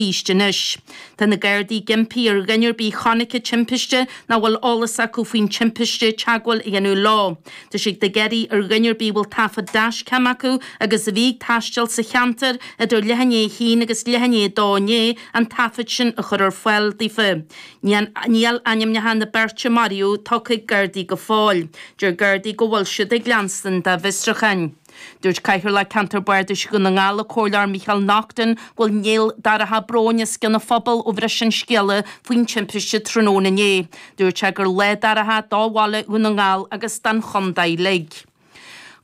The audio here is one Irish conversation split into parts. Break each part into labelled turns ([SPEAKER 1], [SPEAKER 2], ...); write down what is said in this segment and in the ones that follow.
[SPEAKER 1] East anois. Tá na Gardaí ag impí ar dhuine ar bith a chonaic an timpiste nó a bhfuil eolas acu faoin timpiste teagmháil a dhéanamh leo. Tá siad ag iarraidh ar dhuine ar bith a bhfuil taifead dashcam acu agus a bhí ag taisteal sa cheantar idir leath i ndiaidh a haon agus leath i ndiaidh a dó inné an taifead sin a chur ar fáil daofa. Níl ainmneacha na beirte a maraíodh tugtha ag Gardaí go fóill. Deir Gardaí go bhfuil siad ag leanstan dá bhfiosrúcháin. Dúirt Cathaoirleach Ceantar Bardais Dhún na nGall, an Comhairleoir Micheál Naughton, go bhfuil néal dorcha bróin os cionn an phobail ó bhris an scéala faoin timpiste tráthnóna inné. Dúirt sé gur lá dorcha do bhaile Dhún na nGall agus don chontae uilig.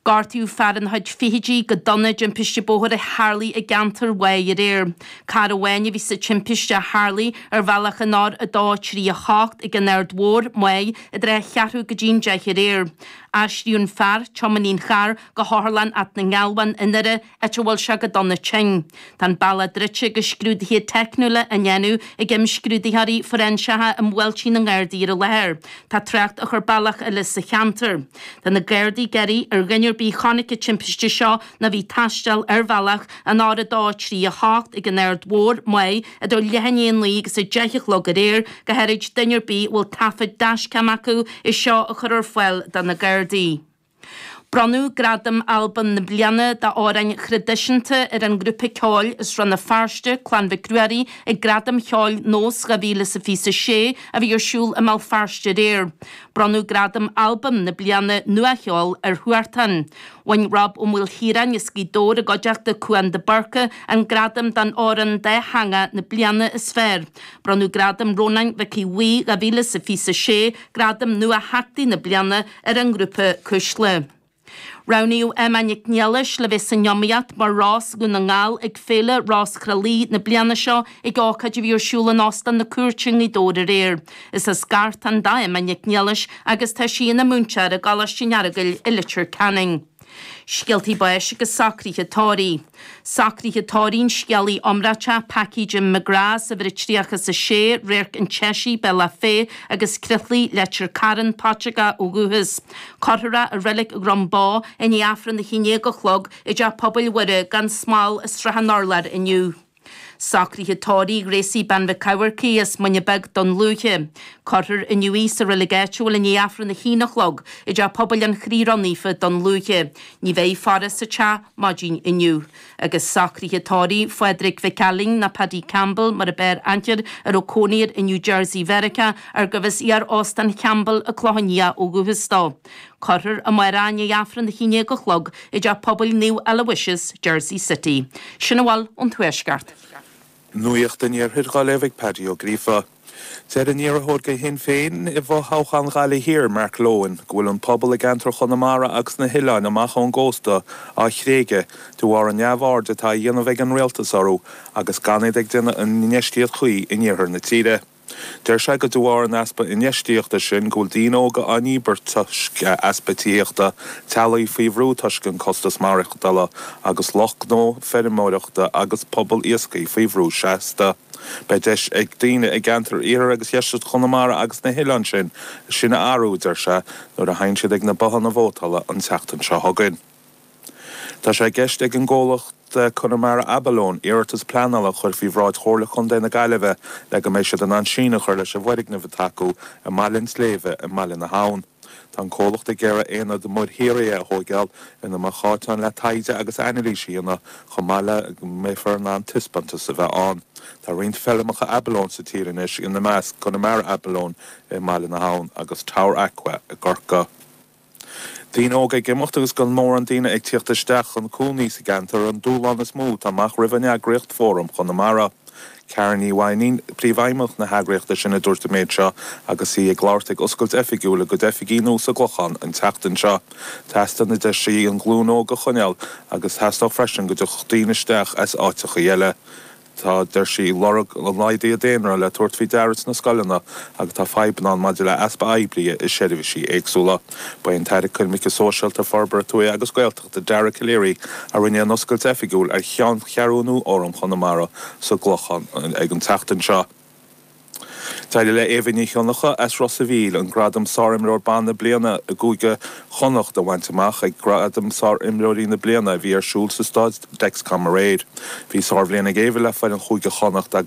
[SPEAKER 1] Gortaíodh fear ina chuid fichidí go dona i dtimpiste bóthair a tharlaigh i gceantar Mhaigh aréir. Carr amháin a bhí sa timpiste a tharlaigh ar bhealach an R2 3 8 ag an Aird Mhór, Maigh, i dtrátha a cheathrú go dtí'n 10 aréir. Aistríodh an fear, tiománaí an chairr, go hOtharlann Áth na nGealbhán i nDoire, áit a bhfuil sé go dona tinn. Tá an bealach druidte agus scrúduithe teicniúla á ndéanamh ag imscrúdaitheoirí fóiréinseacha i mbuailtí na nGardaí ar an láthair. Tá trácht á chur bealach eile sa cheantar. Tá na Gardaí ag iarraidh ar dhuine ar bith a chonaic an timpiste seo nó a bhí ag taisteal ar bhealach an R2 3 8 ag an Aird Mhór, Maigh, idir leath i ndiaidh a 9 agus 10 a chlog aréir, go háirid duine ar bith a bhfuil taifead dashcam acu, é seo a chur ar fáil do na Gardaí. Bronnadh Gradam Albam na Bliana d'Amhráin Thraidisiúnta ar an ngrúpa ceoil as Rann na Feirste, Clann Mhic Ruairí, ag Gradaim Cheoil Nós 2026 a bhí ar siúl i mBéal Feirste aréir. Bronnadh Gradam Albam na Bliana Nuacheoil ar Huartan. Bhain Rob Ó Maoilchiaráin as Gaoth Dobhair i gcuideachta Cúán de Búrca an gradam don Amhrán Dátheangach na Bliana is Fearr. Bronnadh Gradam Rónáin Mhic Aodha Bhuí 2026, Gradam Nua-Theachtaí na Bliana, ar an ngrúpa Cuisle. Roghnaíodh Emma Nic Niallais le bheith san iomaíocht mar Rós Dhún na nGall ag Féile Rós Thrá Lí na bliana seo ag ócáid a bhí ar siúl in Óstán na Cúirte i nGaoth Dobhair aréir. Is as Gartán do Emma Nic Niallais agus tá sí ina múinteoir i gColáiste an Earagail i Leitir Ceanainn. Scéaltaí báis agus socruithe tórraimh. Socruithe tórraimh an scéalaí iomráiteach Packie Jim McGrath as uimhir a 36, Radharc an tSeisigh, Bealach Féich agus Croithlí, Leitir Cairn, Paiteagó ó dhúchas. Cuirfear é i Reilig Dhrom Bó i ndiaidh Aifreann a 11 a chlog i dTeach Pobail Mhuire gan Smál i Srath an Urláir inniu. Socruithe tórraimh Ghracie Bean Mhic Eamharcaigh as Muine Bheag, Dún Lúiche. Cuirfear inniu í sa reilig áitiúil i ndiaidh Aifreann a haon a chlog i dTeach Pobail an Chroí Ró-Naofa, Dún Lúiche. Ní bheidh faire sa teach maidin inniu. Agus socruithe tórraimh Phádraig Mhic Ailín nó Paddy Campbell mar a b'fhearr aithne air a raibh cónaí air i New Jersey Mheiriceá ar gurbh as iar-óstán Champbell an Clochán Liath ó dhúchas dó. Cuirfear amárach i ndiaidh Aifreann a haon déag a chlog i dTeach Pobail Naomh Aloysius, Jersey City. Sin a bhfuil ón Tuaisceart.
[SPEAKER 2] Nuacht an Iarthair á léamh ag Paddy Ó Gríofa. Deir an iarrthóir do Shinn Féin i bhfothoghchán Ghaillimh Thiar, Mark Lohan, go bhfuil an pobal i gceantar Chonamara agus na hoileáin amach ón gcósta á thréigeadh de bharr an neamhaird atá á dhéanamh ag an rialtas orthu agus gan iad ag déanamh an infheistíocht chuí in iarthar na tíre. Deir sé gur de bharr an easpa infheistíochta sin go bhfuil daoine óga á ndíbirt toisc easpa tithíochta, teaghlaigh faoi bhrú toisc an costas maireachtála agus lucht gnó feirmeoireachta agus pobal iascaigh faoi bhrú seasta. Beidh deis ag daoine i gceantar iarthar agus dheisceart Chonamara agus na hoileáin sin sin a athrú, a deir sé, nuair a théann siad ag na bothanna vótála an tseachtain seo chugainn. Tá sé i gceist ag an gcomhlacht Connemara Abalone iarratas pleanála a chur faoi bhráid Chomhairle Chontae na Gaillimhe le go mbeidh siad in ann síneadh a chur leis an bhfoirgneamh atá acu i mBaile an tSléibhe i mBaile na hAbhann. Tá an comhlacht ag iarraidh aonad muirthíre a thóigeáil ina mbeidh áit ann le taighde agus anailís a dhéanamh chomh maith le go mbeifear in ann taispeántas a bheith ann. Tá roinnt feirmeacha abalone sa tír anois, ina measc Connemara Abalone i mBaile na hAbhann agus Tower Aqua i gCorcaigh. Daoine óga ag imeacht agus gan mórán daoine ag tíocht isteach chun cónaí sa gceantar an dúshlán is mó atá amach roimh an eagraíocht Fóram Chonamara. Karen Ní Mhainnín, Príomhfheidhmeannach na heagraíochta sin a dúirt an méid seo agus í ag labhairt ag oscailt oifigiúil a gcuid oifigí nua sa gClochán an tseachtain seo. Teastaíonn, a deir sí, an ghlúin óg a choinneáil agus theastódh freisin go dtiocfadh daoine isteach as áiteachaí eile. Tá, deir sí, lorg an laghdaithe daonra le tabhairt faoi deara sna scoileanna agus tá fadhbanna ann maidir le easpa oibrithe i seirbhísí éagsúla. Ba é an tAire Coimirce Sóisialta, Forbartha Tuaithe agus Gaeltachta Dara Calleary a rinne an oscailt oifigiúil ar cheanncheathrú nua Fhóram Chonamara sa gClochán ag an tseachtain seo. D'éirigh le Éabha Ní Chionnacha as Ros a' Mhíl an gradam Sárimreoir Ban na Bliana i gCúige Chonnacht a bhaint amach ag Gradaim Sárimreoirí na Bliana a bhí ar siúl sa Staid Dexcom aréir. Bhí sárbhliain ag Éabha le foireann Chúige Chonnacht agus.